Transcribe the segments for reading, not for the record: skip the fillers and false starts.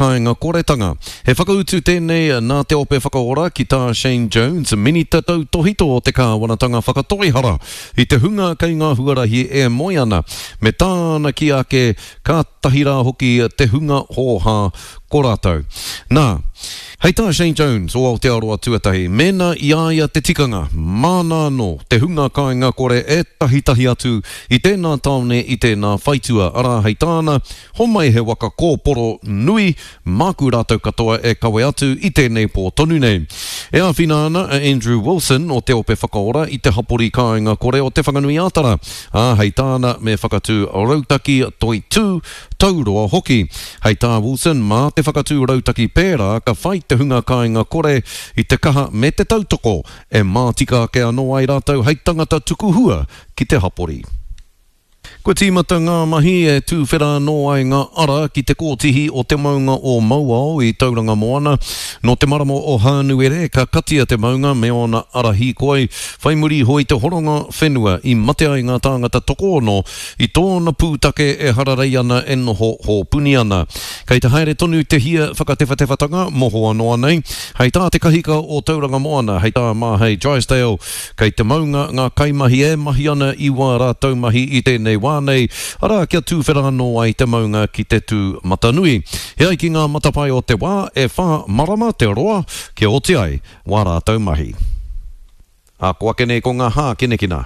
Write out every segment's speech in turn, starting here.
Kāinga koretanga. He whakautu tēnei nā Te Ope Whakaora ki tā Shane Jones, Minita Tautōhito o te Kāwanatanga Whakatoihara i te hunga kei ngā huarahi e moe ana, me tāna kī ake kātahi rā hoki te hunga hōhā ko rātou. Nā, hei tā Shane Jones o Aotearoa Tuatahi, mēnā i a ia te tikanga, māna anō te hunga kāinga kore e tahitahi atu i tēnā tāone i tēnā whaitua, arā hei tāna, Homai he waka kōporo nui, māku rātou katoa e kawe atu i tēnei pō tonu nei. E āwhina ana a Andrew Wilson o Te Ope Whakaora i te hapori kāinga kore o Te Whanganui-ā-Tara, ā, hei tāna me whakatū rautaki toitū, tauroa hoki. Hei tā Wilson, mā te whakatū rautaki pērā ka whai te hunga kāinga kore i te kaha me te tautoko e mātika ake anō ai rātou hei tangata tuku hua ki te hapori. Kua tīmata ngā mahi e tūwhera anō ai ngā ara ki te kōtihi o te maunga o Mauao i Tauranga Moana. Nō te marama o Hānuere ka katia te maunga me ōna ara hīkoi, whai muri iho i te horonga whenua i mate ai ngā tāngata tokoono i tōna pūtake e hararei ana e noho hōpuni ana. Kei te haere tonu te hia whakatewhatewhatanga mohoa noa nei. Hei tā te kahika o Tauranga Moana, hei tā Māhei Drysdale, Kei te maunga ngā kaimahi e mahi ana i wā rātou mahi i tēnei wā nei, arā, kia tūwhera anō ai te maunga ki te tū matanui. E ai ki ngā matapae o te wā, e whā marama te roa kia oti ai wā rātou mahi. Ā, ko ake nei ko ngā hākinakina.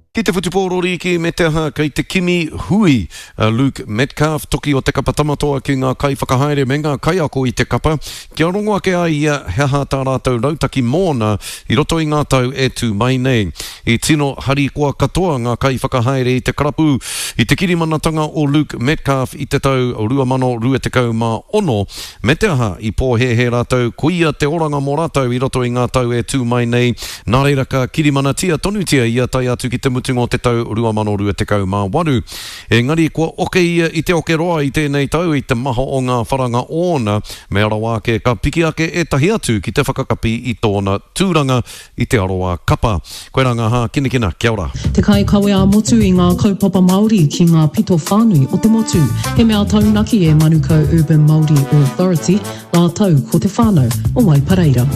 Ki te whutupōro rīki me te aha kei te kimi hui a Luke Metcalf, toki o te kapa Tamatoa ki ngā kaiwhakahaere me ngā kaiako i te kapa, kia rongo ake ai ia he aha tā rātou rautaki mōna i roto i ngā tau e tū mai nei. I tino harikoa katoa ngā kaiwhakahaere i te karapu i te kirimanatanga o Luke Metcalf i te tau 2026, Me te aha, i pōhēhē rātou koia te oranga mō rātou i roto i ngā tau e tū mai nei, nā reira ka kirimanatia tonutia ia tae atu ki te mutunga o te tau 2028. Engari kua oke ia i te oke roa i tēnei tau i te maha o ngā wharanga ōna, mea rawa ake ka piki ake ētahi atu ki te whakakapi i tōna tūranga i te aroā kapa. Koirā ngā hākinakina, kia ora. Te kaikawe ā-motu i ngā kaupapa Māori ki ngā pito whānui o te motu. He mea taunaki e Manukau Urban Māori Authority rātou ko te whānau o Waipareira.